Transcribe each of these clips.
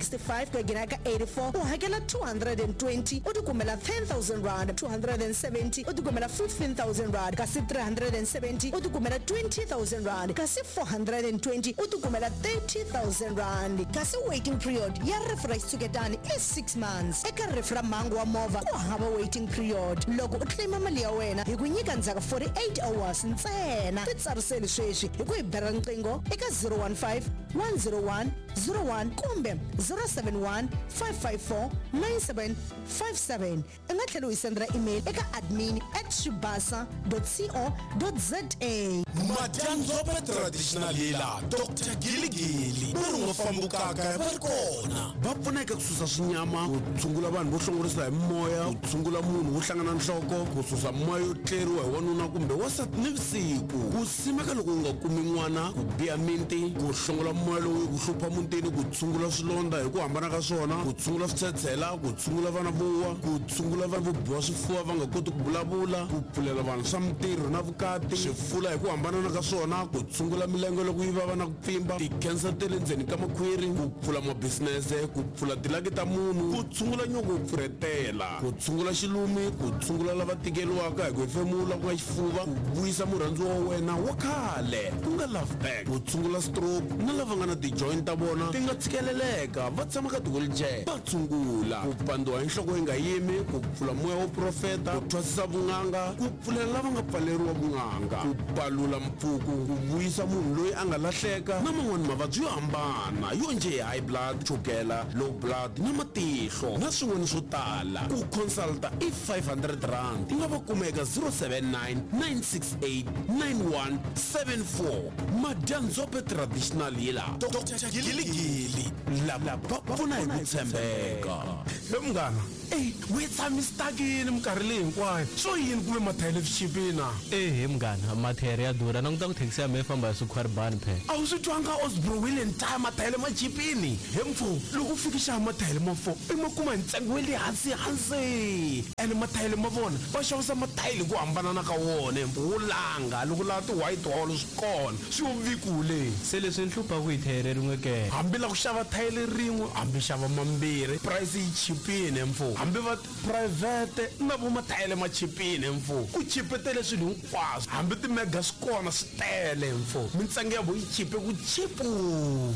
65 ku ya nghena eka 84 u hakela 220 u tikumela 10000 rand, 270 u tikumela 15000 rand, kasi 370 u tikumela 20000 rand, kasi 420 u tikumela 30000 rand. Kasi waiting period ya rifu ra xitshuketani i 6 months. Eka rifu ra mhangu wa movha ku hava waiting period. Loko u claim mali ya wena hi ku nyika ndzhaku 48 hours ntsena. Titsariseli sweswi hi ku hi bela riqingho eka 015 101 01 kumbe 071 554 9757. U nga tlhela u hi sendela email eka admin at swibasa co za. Madyandzhope Traditional Healer Doctor Giligili va ri u nga fambi u kayakaya va ri kona. Va pfuna eka ku susa swinyama, ku tshungula vanhu vo hlongorisa hi mimoya, ku tshungula munhu wo hlangana nhloko, ku susa mimoya yo tleriwa hi wanuna kumbe wansati nivusiku, ku simeka loko u nga kumi n'wana, ku biha miti, ku hlongola mimoya lowu yi ku hlupha mutini, ku tshungula swilondza hi ku hambana ka swona, ku tshungula switshetshela, ku tshungula vana vo wa, ku tshungula vanhu vo biwa swifuva va nga koti ku vulavula, ku pfulela vanhu swa mintirho na vukati, swifula hi ku hambanana ka swona, ku tshungula milenge loko yi vava na ku pfimba, tikhensa ta le ndzeni ka makhwiri, ku pfula mabisinese, ku pfula tilaki ta munhu, ku tshungula nyongo wo pfurhetela, ku tshungula xilumi, ku tshungula lava tikeriwaka hi ku hefemula ku nga xifuva, ku vuyisa murhandziwa wa wena wa khale ku nga love back, ku tshungula stroke na lava nga na ti-joint ta vona ti nga tshikeleleka va tshama ka ti-wheelchair, va tshungula ku pandziwa hi nhloko yi nga yimi, ku pfula moya wo profeta, ku thwasisa vun'anga, ku pfulela lava nga pfaleriwa vun'anga, ku palula mpfuku, ku vuyisa munhu loyi a nga lahleka na man'wana mavabyi yo hambana yo njhe hi high blood, chukela, low blood na matihlo na swin'wana swo tala. Ku consulta i R500. U nga va kuma eka 079 968 9174. Madyandzhope Traditional Healer, Doctor Giligili, lava va pfuna hi ku tshembeka. He munghana, ey, we tshami stuck-ini minkarhi leyi hinkwayo, swo yini ku ve mathayere swi chipile na? Ehe munghana, mathayere ya durha, languta ku thekisi ya mehe yi famba hi swikhwaribani phela. A wu swi twanga Osbro Wheel and Tyre mathayele ma chipini? He mfo, loko u fika xava mathayele ma 4 i ma kuma hi ntsengo wa le hansi hansi. Ene mathayele ma vona va xavisa mathayele hi ku hambanana ka wona he mfo, wo langa loko u lava ti white wall swi kona. Swi yo vikule. Se leswi ni hluphaku hi thayere rin'we ke? Hambi la ku xava thayele rin'we hambi xava mambirhi price yi chipini he mfo. Hambi va private na vo mathayele ma chipini he mfo. Ku chipetele swilo hinkwaswo hambi ti mega swi kona swi tele he mfo. Mintsengo ya vo yi chipe ku chipu.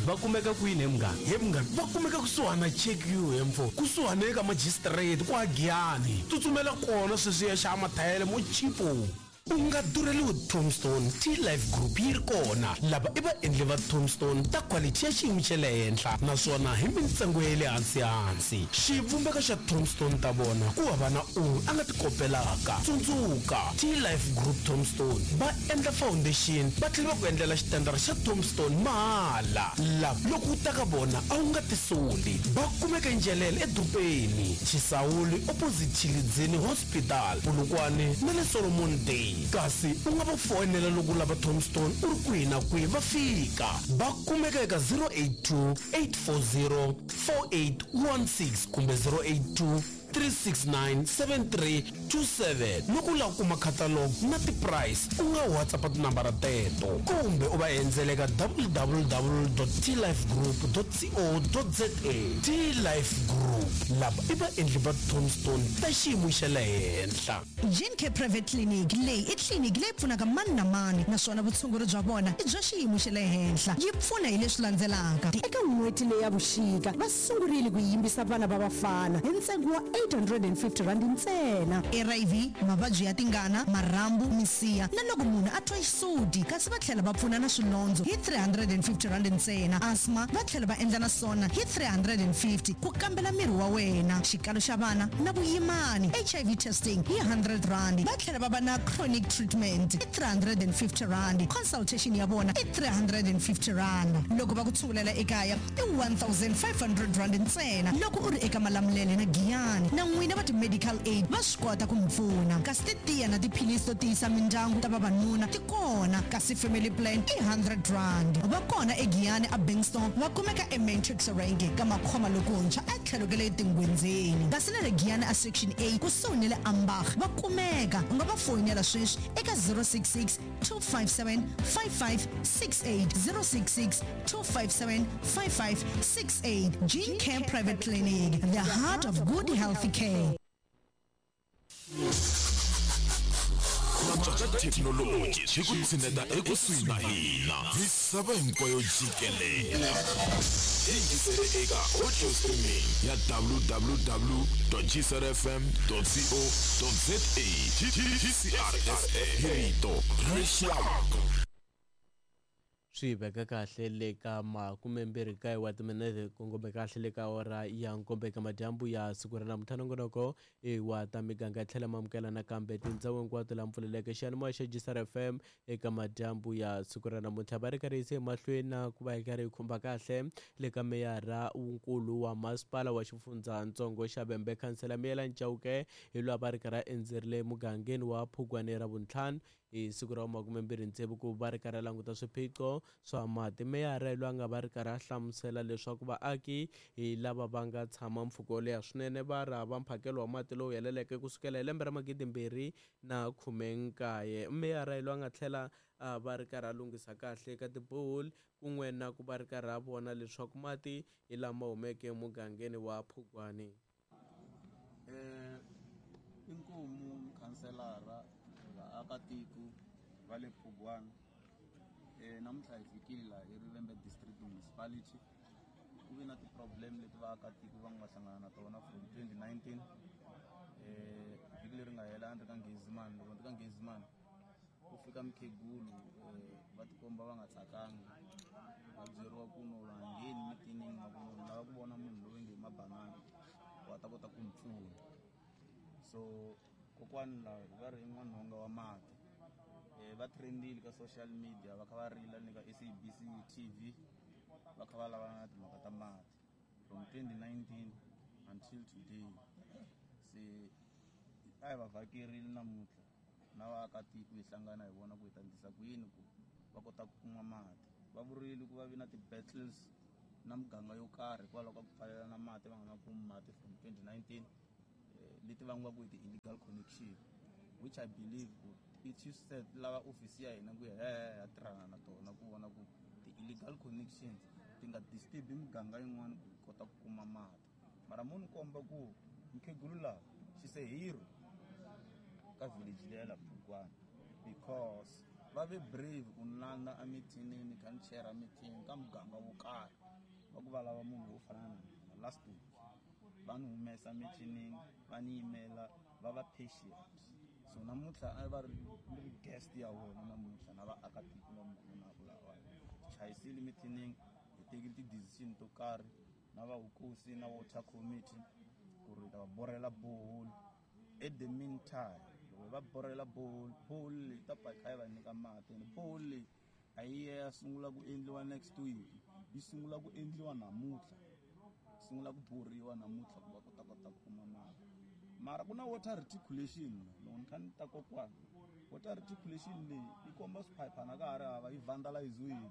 Va kumeka kwini he munghana? He munghana va kumeka kusuhani na Check You he mfo. Kusuhani eka magistrate kwa Giyani. Tsutsumela kona sweswi ya xava mathayele mo chipu. U nga durheliwi Tombstone, T-Life Group yi ri kona. Lava i vaendli va Tombstone ta khwalithi ya xiyimo xa le henhla naswona hi mintsengo ya le hansi-hansi. Xivumbeko xa Tombstone ta vona ku hava na un'we a nga ti kopelaka. Tsundzuka, T-Life Group Tombstone va endla foundation va tlhela va ku endlela xitandara xa Tombstone mahala. Lava loko u ta ka vona a wu nga tisoli. Va kumeka eNjelele edorobeni, Chisawuli opposite Tshilidzini Hospital, Polokwane na le Solomon Day. Kasi u nga va foyinela loko u lava Tombstone u ri kwihi na kwihi va fika. Va kumeka eka 082 840 4816 kumbe 082 369 7327. Loko u lava ku kuma catalogue na ti-price u nga WhatsApp tinambara teto kumbe u va endzela eka www.tlifegroup.co.za. T-Life Group, lava i vaendli va Tombstone ta xiyimo xa le henhla. Gene Private Clinic leyi i tliliniki leyi pfunaka mani na mani naswona vutshunguri bya vona i bya xiyimo xa le henhla. Yi pfuna hi leswi landzelaka. Eka n'hweti leyi ya vuxika, va sungurile ku yimbisa vana va vafana hi ntsengo wa R850 ntsena. HIV, mavabyi ya tingana, marhambu, misiha na loko munhu a twa xisuti, kasi va tlhela va pfuna na swilondzo hi R350 ntsena. Asthma va tlhela va endla na sona hi 350 ku kambela miri wa wena, xikalo xa vana na vuyimani, HIV testing hi R100. Va tlhela va va na chronic treatment hi R350, consultation ya vona i R350. Loko va ku tshungulela ekaya i R1500 ntsena loko u ri eka Malamulele na Giyani. rand. Na n'wina va ti-medical aid va swi kota ku mi pfuna. Kasi titiya na tiphilisi to tiyisa mindyangu ta vavanuna ti kona, kasi family plan i 100 rand. Va kona eGiyani a Bingston, va kumeka eMatrix Rank ka Makhoma lokuntshwa etlhelo ka le Tingwenzeni. Kasi na le Giyani a Section A kusuhi ni le Ambach va kumeka. U nga va foyinela sweswi eka 066 257 5568, 066 257 5568. Gene Care Private Clinic, the heart of good healthy care. Ku antswa ka thekinoloji swi ku tshineta ekusuhi na hina misava hinkwayo jikelele. Yingisele eka audio streaming ya www.gcrfm.co.za. GCRSA hi rito ra rixaka. Swi veka kahle le ka 29 wa timinete kongome kahle le ka awara ya nkombo eka madyambu ya siku ra namuntlha. Nongonoko i wa ta miganga tlhela mamukela nakambe tindhawu hinkwato laha mpfuleleke xiyanimoya xa GCR FM eka madyambu ya siku ra namuntlha. Va ri karhi yise emahlweni na ku va hi karhi hi khumba kahle le ka meyara wunkulu wa masipala wa xifundzatsongo xa Vhembe, khansela Miyelani Chauke, hi loyi va ri karhi a endzerile mugangeni wa Phugwane ra vuntlhanu hi siku ra 26 ku va ri karhi a languta swiphiqo swa mati. Meyara hi loyi a nga va ri karhi a hlamusela leswaku vaaki hi lava va nga tshama mpfhuka wo leha swinene va ri hava mphakelo wa mati lowu heleleke kusukela hi lembe ra 2019. Meyara hi loyi a nga tlhela a va ri karhi a lunghisa kahle ka tiboholi kun'we na ku va ri karhi a vona leswaku mati hi lama humeke emugangeni wa Phugwane. Inkomu khanselara vaakatiko va le Phugwane, namuntlha hi fikile laha eRivembe District Municipality. Ku ve na ti-problem leti vaakatiko va nga hlangana na tona from 2019. Vhiki leri nga hela a ni ri ka Nghezimani. Loko ni ri ka Nghezimani ku fika mukhegulu, va tikomba va nga tsakanga, va byeriwa ku no va ngheni mitinini na ku no lava ku vona munhu loyi nge mabanana wa ta kota ku mi pfuna. So kokwani laha va ri n'wanhonga wa mati, va trendile ka social media, va kha va rila ni ka SABC TV, va kha va lavana na timhaka ta mati from 2019 until today. Se a hi va vhakerile namuntlha na vaakatiko hi hlangana hi vona ku hi ta endlisa ku yini ku va kota ku kuma mati. Va vurile ku va vi na ti-battles na muganga yo karhi hikwalaho ka ku pfalela na mati, va nga ma kumi mati from 2019, leti vangiwaka hi ti-illegal connection, which I believe ku it said lava ofisi ya hina ku ya tirhana na tona ku vona ku ti-illegal connections ti nga disturb miganga yin'wana ku kota ku kuma mati. Mara mo ni komba ku mukhegulu laha she's a hero ka village leya la Phugwane, because va ve brave ku ni landza emithinini kha ni chera meeting ka muganga wo karhi, va ku va lava munhu wo fana na mina. Last week va ni humesa mithinini, va ni yimela, va va patient. So namuntlha a va ri ni guest ya vona namuntlha na vaakatiko va mi vonaka laha. Chayisile mithinini, hi tekile ti-decision to karhi na va vukosi na water committee ku ri ta va borhela borehole. At the meantime, loko hi va borhela borehole, borehole leyi ta pfa yi kha yi va nyika mati. And borehole leyi a yi ya sungula ku endliwa next week, yi sungula ku endliwa namuntlha, sungula ku borhiwa namuntlha ku va kota kota ku kuma mati. Mara ku na water reticulation, loko ni kha ni ta kokwana, water reticulation leyi yi komba swiphayiphana ka ha ri hava, yi vandaliziwile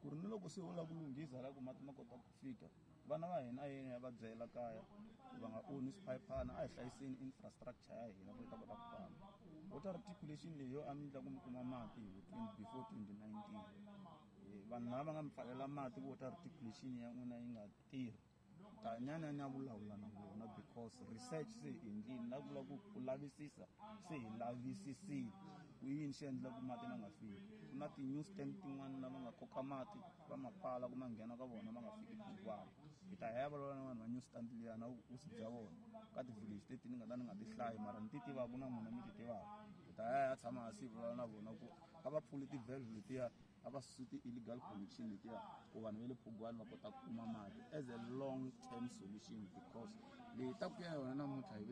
ku ri ni loko se u lava ku lunghisa la ku mati ma kota ku fika, vana va hina a yini ya va byela kaya ku va nga onhi swiphayiphana, a hi hlayiseni infrastructure ya hina ku yi ta kota ku famba. Water reticulation leyi yo a mi endla ku mi kuma mati hi before 2019, vanhu lava va nga mi pfalela mati ku water reticulation ya n'wina yi nga tirhi, ta nyanyanya vulavula na vona, because research se hi endlile na vula ku lavisisa se hi lavisisile ku yini xi endla ku mati ma nga fiki. Ku na ti-new stand tin'wana lava nga koka mati va ma pfala ku ma nghena ka vona ma nga fiki Phugwane. Hi ta ya vulavula na vanhu va new stand liya na vukosi bya vona ka ti-village leti ni nga ta ni nga ti hlayi, mara ni ti tivaka na n'wina mi ti tivaka. Hi ta ya tshama hansi hi vulavula na vona ku a va pfuli ti-valve letiya, a va susi ti-illegal connection letiya ku vanhu va le Phugwane va kota ku kuma mati as a long term solution, because leyi ta ku ya yona namuntlha hi